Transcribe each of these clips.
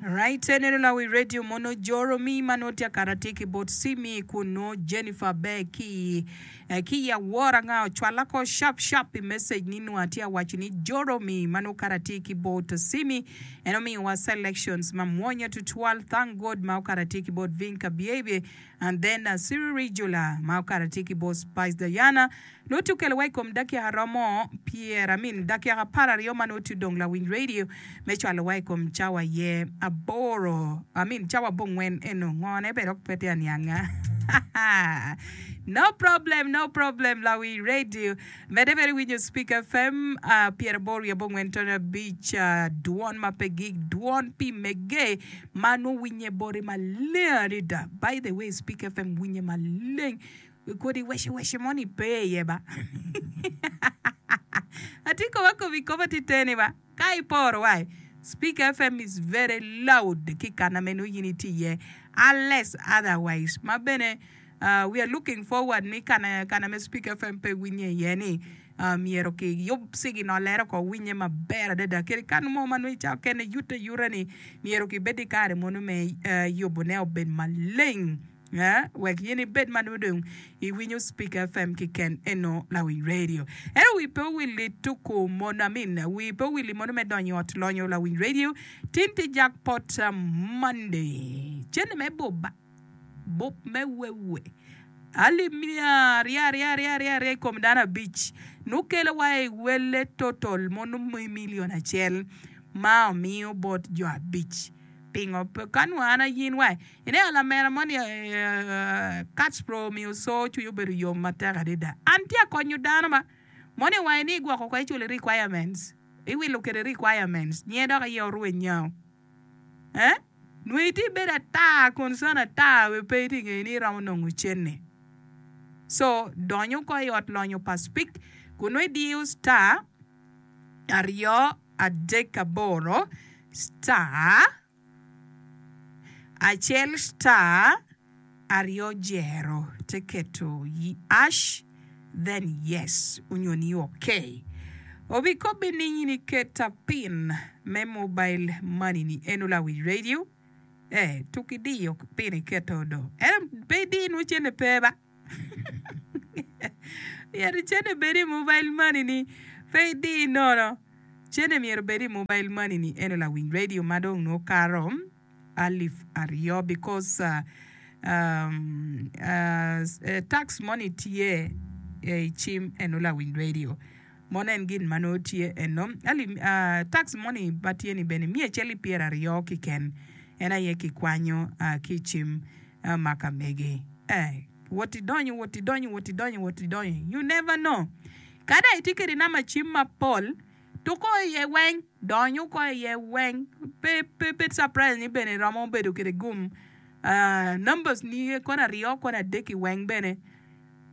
Right eneno lawi radio mono joro mi ma nongo tye akato atir ki bot Simi kun nongo Jennifer ber ki ki i awora nga ocwala ko sharp sharp i message ni nongo atye awaco ni joro mi ma nongo okato atir ki bot Simi en omiyo wa selections ma mwonya tutwal thank God ma okato atir ki bot Vinka Biebie and then Siri Rijula ma okato atir ki bot Spice Diana Nongo tye okelo wa i kom dakika romo pyer I mean dakika apararyo ma nongo tye odong lawiny radio me cwalo wa i kom cawa aye aboro I mean cawa abongwen eno ngo ne bene dok pe tye anianga no problem no problem lawiny radio mede bene iwinyo speak FM uh, pyeraboro wiye abongwen tone abic uh, dwon ma pe gik dwon pi mege ma nongo winye boti maleng adada by the way speak FM winye maleng Kodi wece wece mo ni pe iye ba. Atye koba kobi koba tye teni ba. Ka iporo wa Speak FM is very loud ki kana meno in itye iye unless otherwise ma bene uh, we are looking forward ni kana kana me Speak FM pe winye iye ni uh, myero ki yub siginolere oko winye maber adada kadi kan mo ma nongo i cawa kene yute ayuta ni myero ki bed ki kare mono me uh, yubone obed maleng. Wek in ibed ma nongo dong iwinyo Speak FM kiken eno lawiny radio. Ento wi pe owil i tuku mono, I mean, wi pe owil i mono me donyo i ot lonyo lawiny radio. Tin tye jackpot Monday. Cene me buba, bup me wewe. Alip miya aryo aryo aryo aryo aryo i kom dano abic. Nukelo wa i wele total mono million acel ma omiyo bot jo abic. Pingo pe ka nongo an ayin wa ineno lamera mo ni Katspro omiyo co cwinye obedo yom matek adada. An tye akonyo dano ma mo ni wange ni igwoko ko iculo requirements iwilo kede requirements nyinge dok iye orweny nyao eh nongo itye ibedo ata concern ata we pe itye ngeyo ni iromo nongo cene so donyo ko i ot lonyo pa speak kun nongo idiyo star aryo adek aboro star acel star aryo jero te keto ash then yes onyo ni ok. Obikobbi ni in iketa pin me mobile money ni eno lawic radio eh tuk idiyo pin iketo do ento pe idi nwo cene pe ba. Myero cene bed i mobile money ni pe idi nono. Cene myero obed i mobile money ni eno lawiny radio ma dong nongo kato alip aryo because uh, um, uh, tax money tye i cim eno lawiny radio mono en gin ma nongo tye eno alip uh, tax money ma tye ni bene miya acel ki pyeraryo kiken en aye kikwanyo uh, ki i cim ma ka megi. Eh, wot idonyo, wot idonyo, wot idonyo, wot idonyo. You never know. Ka dong itye kwede namba cim mapol, tuko iye weng, dony oko iye weng. Pe, pe bed surprise ni bene iromo bedo kwede gum. Uh, numbers ni kono aryo, kono adek-ki weng bene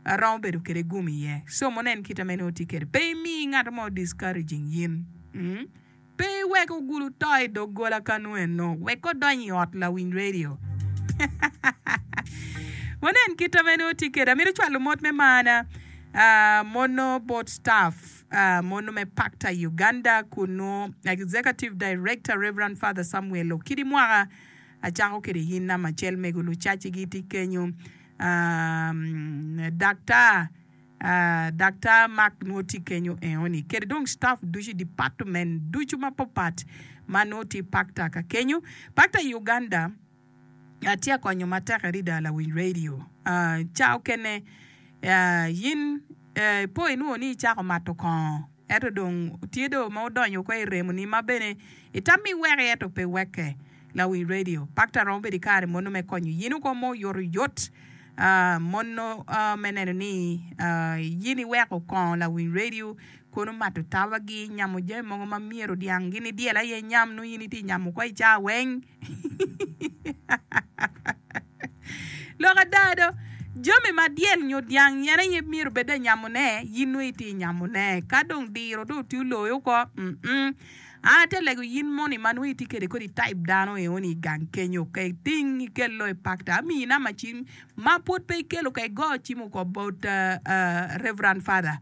aromo bedo kwede gum iye. So mono en kite ma inongo tye kwede. Pe imi ngat mo discouraging in. Mm. Pe iwek ogulu to i doggola kanu eno, wek odony i ot lawiny redio. Wanen kit ma en tye kwede. Amito cwalo mot me marna mono bot staff mono me Pakta Uganda kunu Executive Director Rev. Father Samuel Okidi Mwaka acako kwede in namba acel mego lucacigi tye kenyo Daktar Daktar Mark nongo tye kenyo enoni kede dong staff ducu i department ducu mapapat ma nongo tye pakta ka kenyo. Pakta i Uganda tye ka konyo matek adada lawiny radio. Ca okene in ipo inwongo ni icako mato kongo Ento dong tye do ma odonyo oko i remoni ma bene itammi iweke ento pe wekke. Lawiny radio, Pakta romo bedo i kare mono me konyo yin oko mo oyotoyot mono me neno ni yin iweko kongo lawiny radio kono mato tabagi, nyamo jami mogo ma myero dyang gin idyel aye inyam nongo yin itye nyamo oko i caa weng. Lok ada do, jami ma dyel nyo dyang en aye myero obed anyamone, in nongo itye nyamone. Ka dong diro dong tye oloyi oko, mm An atye lego in moni ma nongo itye kwede kodi type dano enoni i gang kenyo, ka iting ikel loyo i pakta, amiyi namba cim ma pwod pe ikelo ka igo cim oko bot Reverend Father.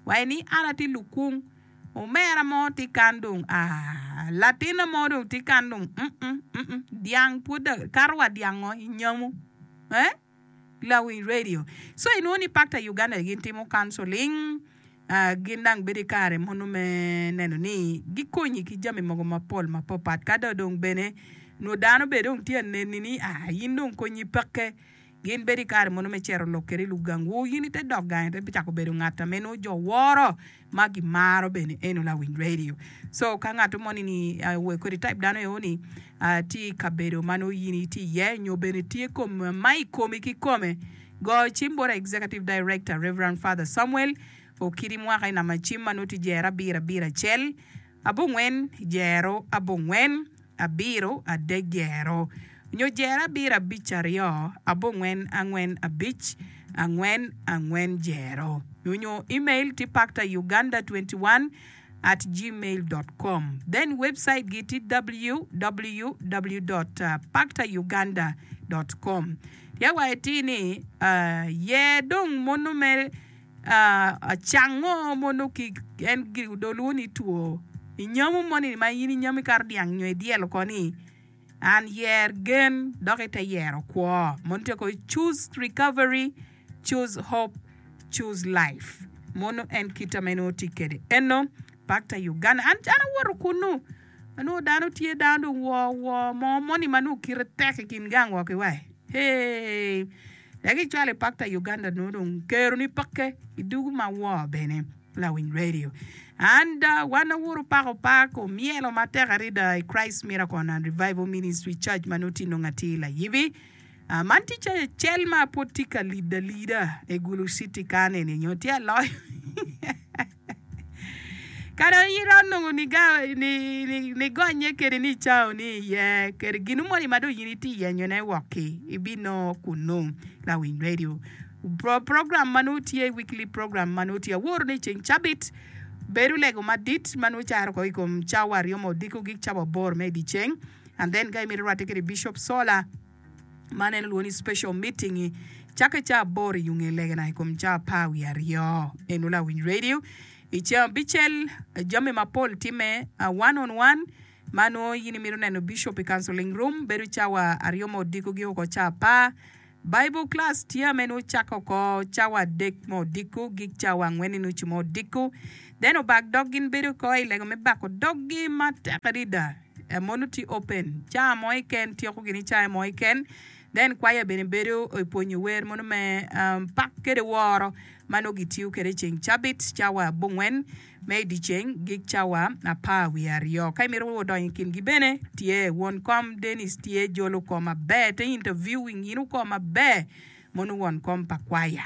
Waci ni an atye lukung. Omera mo tye kan dong aah latinna mo dong tye kan dong mm mm dyang pwod dong kato wa dyango i nyamu eh lawiny radio so inwongo ni pakta Uganda gin timo counseling gin dang bedo ki kare mono me neno ni gikonyi ki jami mogo mapol mapapat ka dong bene nwo dano bene dong tye ka neni ni aah in dong konyi peke. Gin bedo i kare mono me cito lok kwede i lugangwu, in ite dok gang ite cako bedo ngat ame nongo jo woro ma gimaro bene eno lawiny radio. So ka ngat moni ni kodi type dano eo ni tye i kabedo ma nongo in itye iye nyo bene tye kom ma i komi kikome, go cim bot Executive Director Rev. Father Samuel Okidi Mwaka i namba cim ma nongo tye jero abiro abiro acel abongwen jero abongwen abiro adek jero nyo jero abiro abic aryo abongwen angwen abic angwen angwen jero nyo email tye pactauganda 21 at gmail dot com then website gi tye www dot pactauganda dot com tye wa iti ni yer dong mono me Cango mono ki en dong lwongo ni two inyamu moni ma in inyamu ikato dyang nyo idyelo oko ni an yer gen dok ite yero kwo mono tye ko choose recovery choose hope choose life mono en kita ma en nongo tye kwede eno pakta Uganda an an awoto kunu anongo dano tye dano dong woo woo mo moni ma nongo kite tek i kin gang wa ki wai hee. Dok icwalo i pakta Uganda nongo dong kero ni peke idugu ma woo bene lawiny radio and wan awuru pako pak omyelo matek arida i Christ Miracle and Revival Ministry Church ma nongo tye nongo atir layibi man tye cayo cel ma pwod tye ka lido alida i Gulu City kan eni nyo tye aloyo Ka dong in iromo nongo nigonye kede ni icao ni iye kede gin moni ma dong in itye yenyone wok-ki, ibinongo kunnu. Lawiny redio program ma nongo tye, weekly program ma nongo tye aworo ni ceng cabit bedo lego madit ma nongo caro ko i kom cawa aryo me odiko gik cawa aboro me dyeceng and then ka imito rwatte kede Bishop Sola Man en olwongo ni special meeting cakke ca aboro i nge legana i kom ca apar wiye aryo. Eno lawiny radio i ceng abicel jami mapol timme one on one ma nongo in imito neno bishop i counseling room bedo cawa aryo me odiko gi oko ca apar. Bible class tye ame nongo cakke oko cawa adek me odiko gik cawa angwen ki nucu me odiko. Then obak dog gin bedo oko i lego me bako doggi matek adada. Mono tye open caa mo keken tyeko gini caa mo keken then kwaya bene bedo i pwonyo wer mono me pak kede woro ma nongo gitiyo kede ceng cabit cawa abongwen me dyeceng gik cawa apar wiye aryo ka imito donyo i kingi bene tye won kom Dennis tye jolo kom maber te interviewing in oko maber mono won kom pa kwaya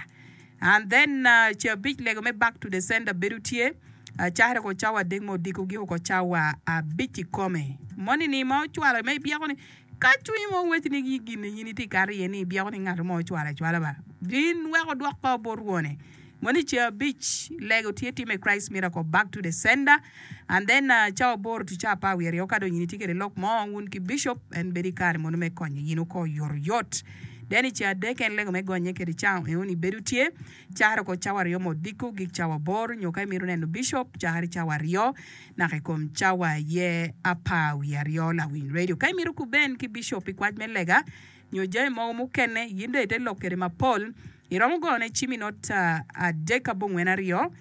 and then ceng abic lego me back to the sender bedo tye cakre ko cawa adek me odiko giko ko cawa abic kikome moni ni ma ocwalo ma ibyeko ni ka cwinyi mo weci ni gin ni in itye kato iye ni ibyeko ni ngat mo ocwalo acwala ba in wek odwok ko bot wone moni ceng abic lego tye time Christ miracle back to the sender And then cawa aboro to cawa apar wiye aryo ka dong in itye kede lok mo wun ki bishop en bedo i kare mono me konyo in oko oyotoyot. Then i ceng adek en lego me gonye kede cawa enoni bedo tye caro ko cawa aryo me odiko gik cawa aboro nyo ka imito neno bishop cakere cawa aryo naka i kom cawa aye apar wiye aryo lawiny radio. Ka imito kuben ki bishop pi kwac me lega nyo jami mogo mukene in dong ite lok kede mapol iromo goyone cim i nota adek abongwen aryo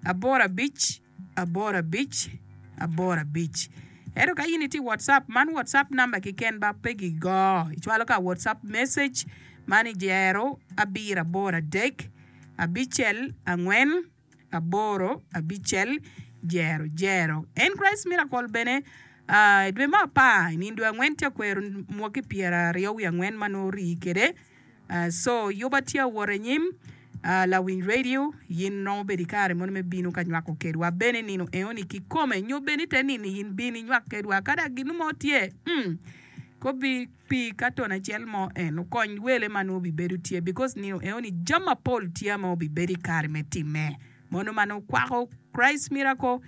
aboro abic aboro abic aboro abic Ento ka in itye i WhatsApp, man WhatsApp namba keken ba pe gigo. Icwalo ka WhatsApp message man i jero abiro aboro adek abicel angwen aboro abicel jero jero. En Christ Miracle bene i dwe me apar i nino dwe angwen tye ka kwero mwaki pyeraryo wiye angwen ma nongo orii kwede. Co yuba tye awot anyim lawiny radio yin romo bedo ikare mono me bino ka nywako kedwa bene nino eoni kikome nyo bene ite nino yin bin inywak kedwa kada ginu mo tye mm kobi pi katon acel mo en okony wele ma nongo obibedo tye because nino eoni jami mapol tye ma obibedo ikare me time mono ma nongo kwako Christ miracle.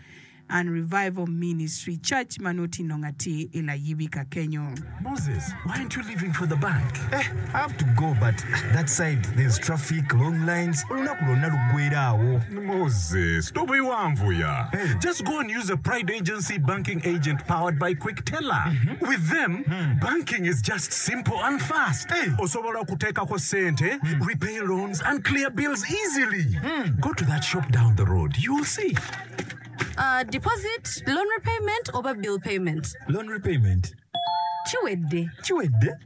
And Revival Ministry Church ma nongo tye nongo atir i Layibi ka kenyo. Moses, why aren't you leaving for the bank? Eh, I have to go but that side there's traffic, long lines, olunaku lwonna luggwera awo. Moses, tobiwanvuya. Hey. Just go and use a Pride Agency banking agent powered by Quickteller. With them, banking is just simple and fast. Hey. Osobola okuteekako sente, repay loans and clear bills easily. Go to that shop down the road, you'll see. Deposit, loan repayment oba bill payment? Loan repayment. Kiwedde. Kiwedde?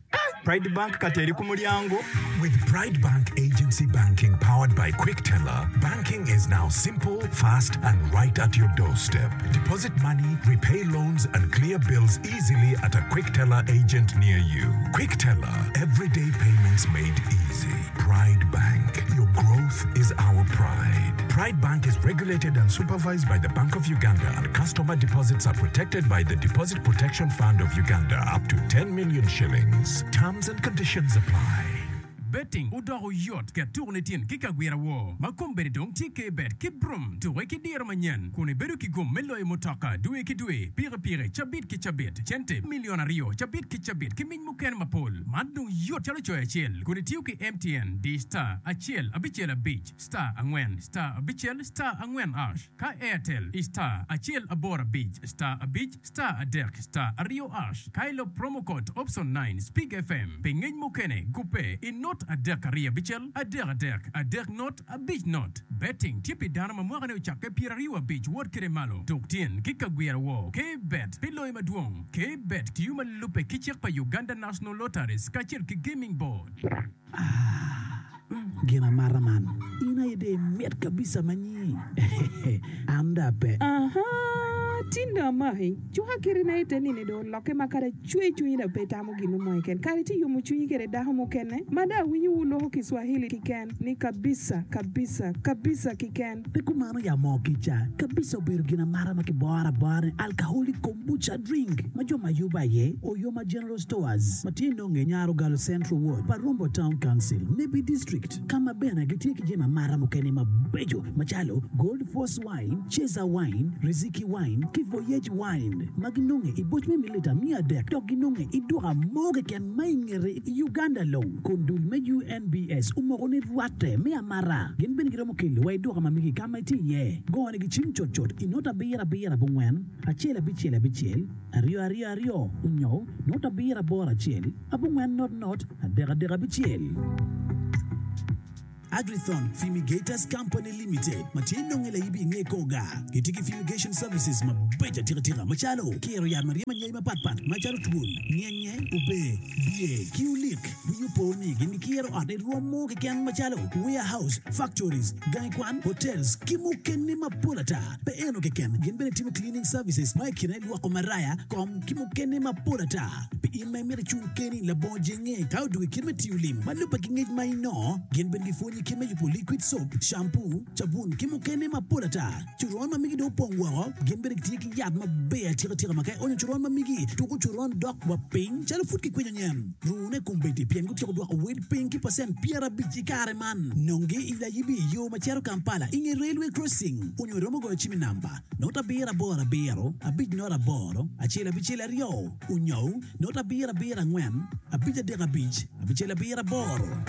Pride Bank kati eri ku mulyango. With Pride Bank Agency Banking powered by Quickteller, banking is now simple, fast and right at your doorstep. Deposit money, repay loans and clear bills easily at a Quickteller agent near you. Quickteller, everyday payments made easy. Pride Bank, your growth is our pride. Pride Bank is regulated and supervised by the Bank of Uganda and customer deposits are protected by the Deposit Protection Fund of Uganda up to 10 million shillings. Terms and conditions apply. Betting odoko yot ket tuku ni tyen ki kagwira woo ma kombeddi dong tye K-bet ki Brum tuke ki diro manyen kun ibedo ki gum me loyo mutoka dwe ki dwe, pikipiki cabit ki cabit, cente milion aryo cabit ki cabit ki mic mukene mapol. Man dong yot calo coyo acel kun itiyo ki MTN di star acel abicel abic star angwen star abicel star angwen ash ka Airtel i star acel aboro abic star abic Star adek star aryo ash ka ilub promo code option nine Speak FM pi ngec mukene gubbe i not adek aryo abicel adek adek adek not abic not. Betting tye pi dano ma mwaka ne ocakke pyeraryo abic wot kede malo. Tuk tyen ki ka gwira woo K bet pi loyo madwong. K bet tiyo ma lubbe ki cik pa Uganda National Lotteries kacel ki Gaming Board. Aah gin amata man in aye dong imit kabisa ma nyi an dong ape. Ahaa tin dong amaki cuka kiti na ite nini dong olokke ma kadi acwe cwinyi dong pe itamo ginu mo keken kadi itye yomo cwinyi kede dako mukene ma dong awinyo wu loko kiswahili kiken ni kabisa kabisa kabisa kiken. Pe kumano ya moo kica kabisa obedo gin amata ma kiboro abora ni alcoholic kombucha drink ma jo ma yubo aye Oyoma General Stores ma tye nonge i Nyarogalo Central Ward pa Rombo Town Council, Nebbi District ka ma bene gitye ki jami amata mukene mabeco macalo Gold Force Wine, Ceza Wine, Riziki Wine ki Voyage Wine ma ginonge i boc me mililita miya adek dok ginonge i duka mo keken ma i ngete i Uganda long kun dul me UNBS omoko ni rwatte me amata gin bene giromo kelo wa i duka ma megi ka ma itye iye. Gone gi cim cutcut i not abiro abiro abongwen, acel abicel abicel, aryo aryo aryo, onyo not abiro aboro acel, abongwen not not, adek adek abicel. Agrithon Fumigators Company Limited ma tye nonge layibi i nge kor gar gitye ki fumigation services mabeco atika tika macalo kiro yat ma ryemo anyai mapat pat macalo twol, nyenye, ober, bye ki olik. Winyo po ni gin gikiro ot i rwom mo keken macalo warehouse, factories, gangi kwan, hotels ki mukene mapol ata. Pe eno keken, gin bene timo cleaning services ma i kine lwoko maraya, kom ki mukene mapol ata. Pi in ma imito icung keni labongo jenge ka odwogo i kit me tiyo lim ma lubbe ki ngec ma inongo, gin bene gipwonyi kit me yubo liquid soap, shampoo, cabun ki mukene mapol ata. Coron ma migi dong opong woko, gin bene gitye ki yat maber atika tika ma ka ionyo coron ma migi, tuko coron dok wa piny calo pud kikwinyo nyen. Rune kombeddi pien gutyeko dwoko wel piny ki pacent 50 i kare man. Nonge i Layibi i yo ma cito Kampala i nge Railway Crossing onyo iromo goyo cim i namba not abiro aboro abiro abic not aboro acel abicel aryo onyo not abiro abiro angwen abic adek abic abicel abiro aboro.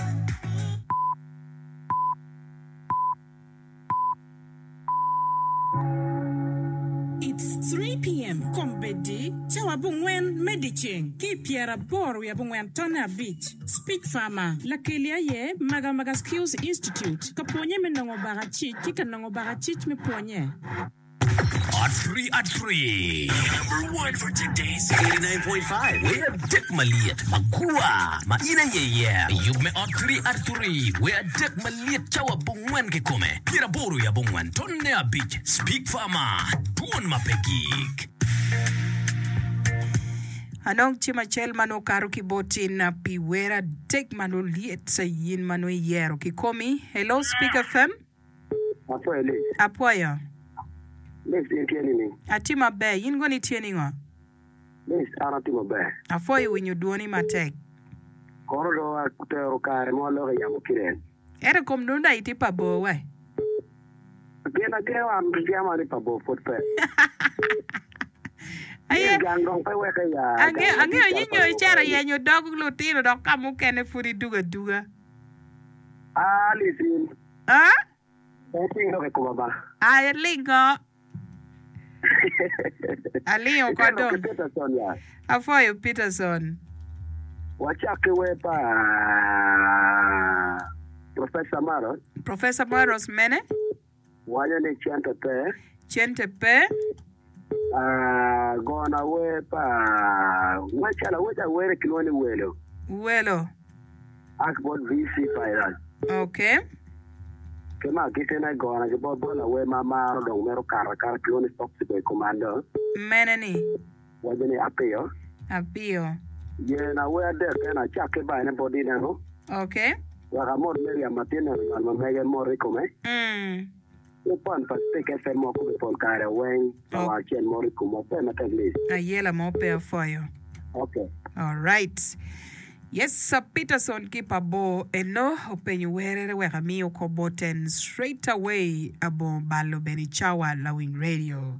It's 3 PM, Kombeddi, cawa abongwen me dyeceng ki i pyeraboro wiye abongwen tonne abic. Speech Farmer, Lakeli aye Maga Maga Skills Institute, ka pwonye me nongo bakacic ki ka nongo bakacic me pwonye. At three at three. Number one for today's 89.5. Wer adek malyet magwar ma in aye iye. Yub me ot three at three. Wer adek malyet cawa abongwen kikome. Pyeraboro i abongwen tonne abic. Speak Farmer. Twon ma pe gik. Anong cim acel ma nongo okato ki bot in pi wer adek ma nongo lyet in ma nongo iyero kikomi? Hello Speak FM. Apwoyo Liz. Apwoyo. Liz in tye nining? Atye maber, in kono itye ningo? Liz, an atye maber. Apwoyo winyo dwoni matek. Kono dong atero kare ma waloko i yamo kiren. Ento kom dong dong itye pa bor wai. Gin agengo an ryema ni pa bor pwod pe. Aye. Gang dong pe weke ya. Angeyo angeyo ni nyo icito yenyo dog lutino dok ka mukene pud idugo aduga. Ah Alice. Ah? Pe iting lok i koma ba. Aye lingo. Alingo oko Ite lok dong. ki Peterson ya. Apwoyo Peterson. Wacak ki wer pa Professor Maros. Professor Maros mene? Waco ni cente pe. Cente pe. Gona wer pa ngwec calo aweca awere kilwongo ni Welo. Welo. Ak bot VC Virus. Ok. Ki ma agikine gona ki bot bot lawer ma amaro dong mito kato akata kilwongo ni Foxy Boy Commando. Mene ni? Waco ni Apiyo. Apiyo. Yena wer adek eno acak ki bayone bot ineno. Ok. Wek amot Miriam ma tye neno nywal ma mege mot i kome. Mm. Ki pon pa Spik FM ma wakube pol kare weng ka wang acel mot i komwa pe matek lic. Ayela mo pe apwoyo. Ok. Alright. Yes sir Peterson ki pa bor eno openyo werere wek ami oko boten straight away abongo balo bene cawa lawiny radio.